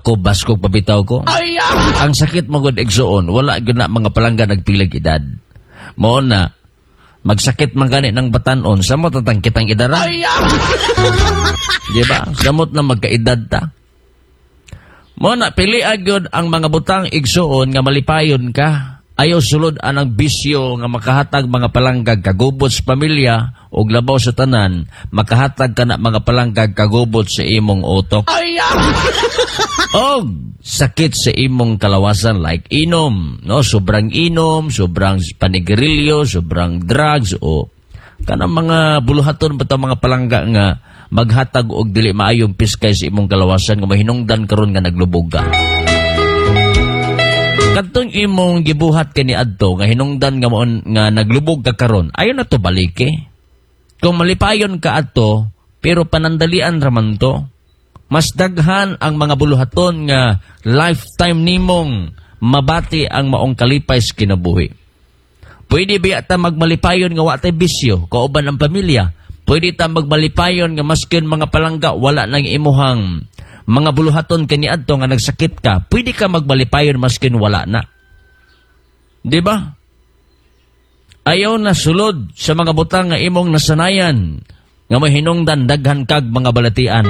Ako, baskog pabitaw ko. Ang sakit mo gud, igsuon, wala gyud na, mga palangga, nagpilag edad. Mao na, magsakit man gani ng batanon, samot na kitang edara. Di ba? Samot na magkaedad ta. Mao na, pili gyud ang mga butang, igsuon, nga malipayon ka. Ayaw sulod anang bisyo nga makahatag, mga palanggag, kagubot sa pamilya o labaw sa tanan, makahatag ka na, mga palanggag, kagubot sa imong utok. Og sakit sa imong kalawasan like inom, no? Sobrang inom, sobrang panigarilyo, sobrang drugs o kanang mga buluhaton ba mga palangga nga maghatag og dili maayong piskay sa imong kalawasan nga mahinungdan karon nga naglubog ka. Kadtong imong gibuhat kani adto nga hinungdan nga moon nga naglubog ka karon, ayo na to balike. Kung malipayon ka adto, pero panandalian raman to. Mas daghan ang mga buluhaton nga lifetime nimong mabati ang maong kalipay sa kinabuhi. Pwede biya ta magmalipayon nga wa tay bisyo kauban ang pamilya? Pwede ta magmalipayon nga maskin, mga palangga, wala nang imuhang mga buluhaton kaniadto nga nagsakit ka? Pwede ka magmalipayon maskin wala na. Di ba? Ayaw na sulod sa mga butang nga imong nasanayan nga mahinungdan daghan kag mga balatian.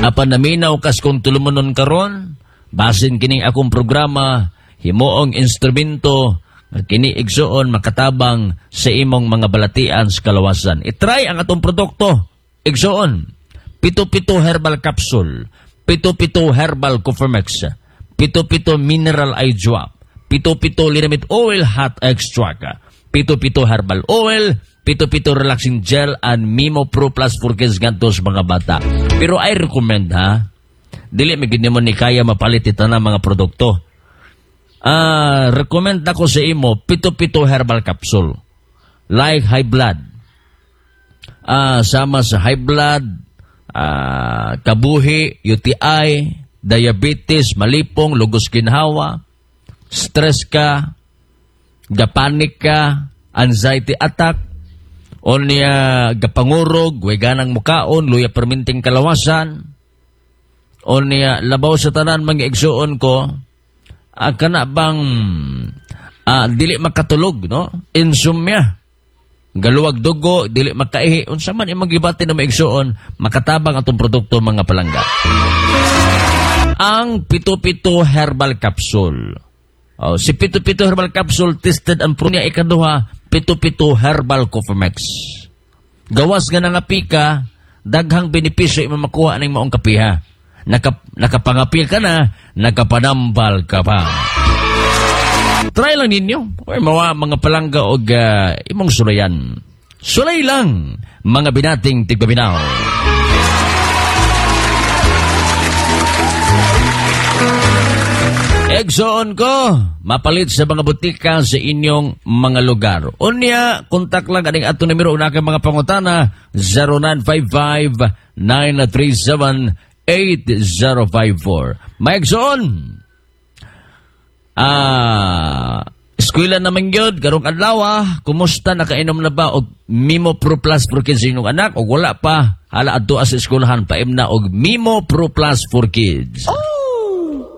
Apan naminaw kas kung tulumanon karon, basin kining akong programa himuong instrumento nga kini, igsuon, makatabang sa imong mga balatian sa kalawasan. I-try ang atong produkto, igsuon. Pito-pito herbal capsule, pito-pito herbal Cofermex, pito-pito mineral eye drop, pito-pito linamit oil hot extract, pito-pito herbal oil, pito-pito relaxing gel, and Mimo Pro Plus for Kids ngadto sa mga bata. Pero I recommend ha, dili mi gid nimo ni kaya mapalit ito na mga produkto. Ah, recommend ako sa imo pito-pito herbal capsule. Like high blood. Ah, sama sa high blood, kabuhi, UTI, diabetes, malipong, lugos ginhawa, stress ka, gapanik ka, anxiety attack, o niya gapangurog, way ganang mukaon, luya perminting kalawasan, o niya labaw sa tanan, mga igsuon ko, kana bang dili makatulog, no? Insomnia. Galuwag dugo, dili makaihi, unsa man imong gibati na maigsuon, makatabang atong produkto, mga palangga. Ang pito-pito herbal capsule. Oh, si pito-pito herbal capsule tested ang pro niya. Ikaduha, pito-pito herbal Cofermex. Gawas nga nangapi ka, daghang benepisyo imong makuha ning maong kapiha. Nakapangapi ka na, nakapanambal ka pa. Try lang ninyo. Oy, mawa, mga palangga, og imong sulayan. Sulay lang, mga binating tigpaminaw. Egsoon ko, mapalit sa mga butika sa inyong mga lugar. Unya, kontak lang aning ato numero una kay mga pangutana, 0955-937-8054. May egsoon, eskwela naman gyud karong adlaw, kumusta, nakainom na ba og Mimo Pro Plus for Kids inyong anak o wala pa? Hala, adto sa eskwelahan, paimna og Mimo Pro Plus for Kids. Oh!